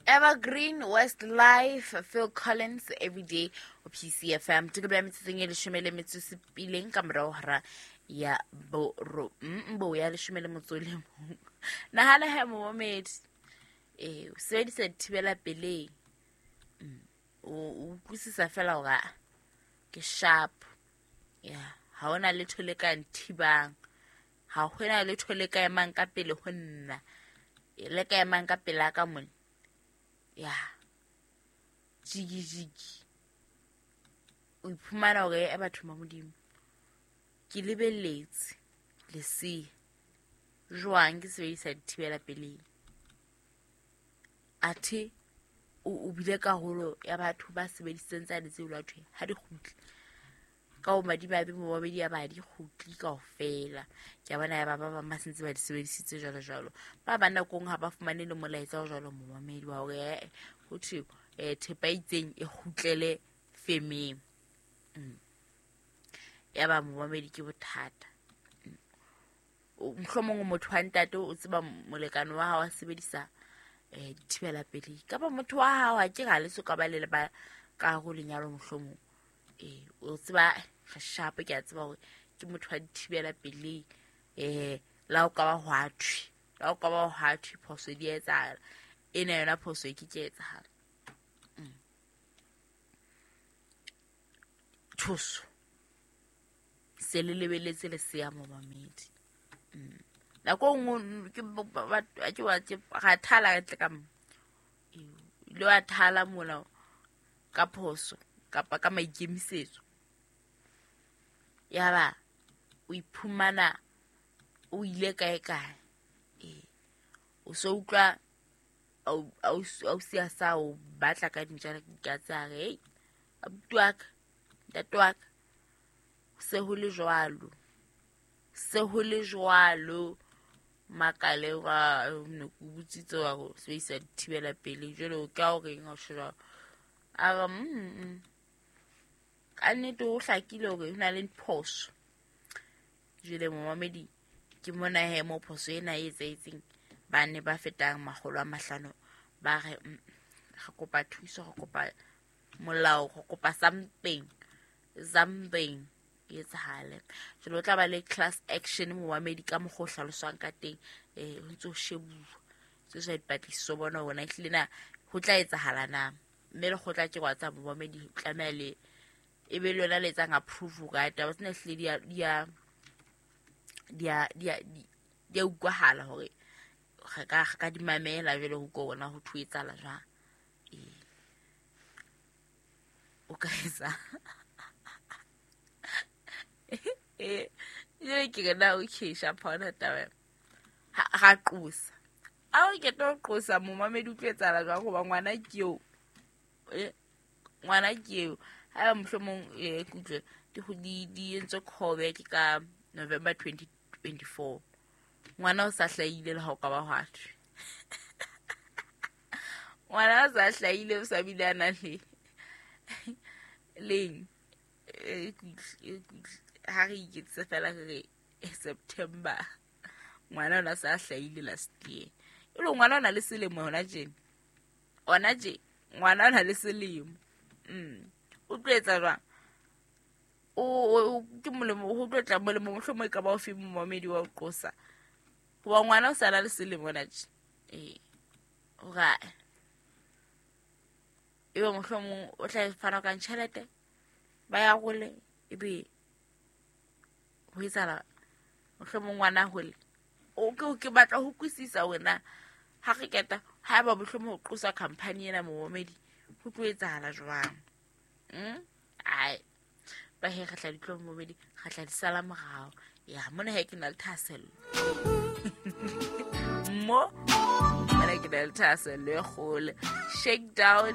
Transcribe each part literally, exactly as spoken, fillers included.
Evergreen Westlife Phil Collins Everyday o P C F M. Tokelo ya metsotsong e leshome le metso e supileng ka morao hora ya boro mbo ya leshome le motso o le mong. Nahana he momamedi, eh o sebedisa dithibela pelei, o utlwisisa fela hore ke sharp. Ya, ha hona letho le ka nthibang, ha hona letho le ka emang ka pele ho nna, le ka emang ka pela ka mona. Ya, jigi jigi, o iphumana hore e batho ba Modimo, ke lebelletse lesea jwang ke sebedisa dithibela pelei. Athe o o bile karolo ya batho ba sebedisitseng tsane tseo la thwe ha di kgutle. Ka ho madimabe momamedi ya ba di kgutle kaofela. Ke a bona ya ba ba bang ba sentse ba di sebedisitse jwalo jwalo. Ba bang nakong ha ba fumane le molaetsa o jwalo momamedi wa hore eh ho thwe eh thepa e itseng e kgutlele femeng. Ya ba momamedi ke bothata. Mohlomong motho wa ntate o tseba molekane wa hao a sebedisa eh dithibela pelei, kapa motho wa hao ha ke ga le so ka ba le ba ka go lenyalo mohlomong. Eh o tseba re sharp, ke a tseba hore ke motho wa dithibela pelei, eh la o ka ba hwa thwe, la o ka ba hwa thwe phoso di etsahala, ena yona phoso e ke ke etsahala. Thuso se le lebeletse lesea momamedi. Nako nngwe ke ke wa ke ga thala ka tle ka mo le wa thala mola ka phoso kapa ka maikemisetso, ya ba o iphumana o ile kae kae. Eh o so utlwa au sia sa o batla ka dintja ka tsa re abuti wa ka, ntate wa ka, se ho le jwalo, se ho le jwalo. Makale wa ne ke botsitse wa go sebedisa dithibela pelei jwale o ka o reng ha o tjho jwalo? A re mm ka nnete ho hlakile hore ho na le phoso. Jwale momamedi ke mona he mo phoso ena e etsahetseng, ba ne ba fetang makgolo a mahlano ba re re kopa thuso, re kopa molao, re kopa something, something e etsahale. Jwale o tla ba le class action momamedi ka mokgwa o hlaloswang ka teng, eh ho ntso shebuwa tse sa dipatlisiso bona hore na ehlile na ho tla etsahala na. Mme lekgotla ke wa tsa momamedi tlameha le e be le yona le etsang approve ka taba tsena ehlile di a di a di a di a di a utlwahala hore re ka re ka di mamela jwale ho ko bona ho thwe etsahala jwang. Eh o ka etsa eh jwale ke re na okay sharp ha hona taba ha ra qosa. A o ke tlo qosa momamedi o tlo etsahala jwang hoba ngwana ke eo, eh ngwana ke eo. Ha mohlomong eh kutlwe di di di entswe callback ka November twenty twenty-four. Ngwana o sa hlahile le ha o ka ba hwa thwe. Ngwana o sa hlahile o sa bile a na le leng eh ha re iketsise fela re September. Ngwana ona sa hlahile last year. E le ngwana ona le selemo hona tjena. Ona tje ngwana ona le selemo. Mm o tlo etsa jwang? O ke molemo ho tlo tla molemo mohlomong e ka ba o fe momamedi wa o qosa. Hoba ngwana o sa na le selemo hona tje. Eh hore ebe mohlomong o tla fana ka tjhelete ba ya hole ebe ho etsahala mohlomong ngwana hole. O ke ke batla ho kwisisa wena ha re keta ha ba mohlomong ho qosa company ena momamedi ho tlo etsahala jwang? Mm ai ba he re tla ditlo momamedi re tla di sala morao. Ya mona he ke na le thahasello mo mona ke na le thahasello e kgolo. Shakedown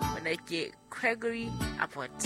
mona ke Gregory Abbott.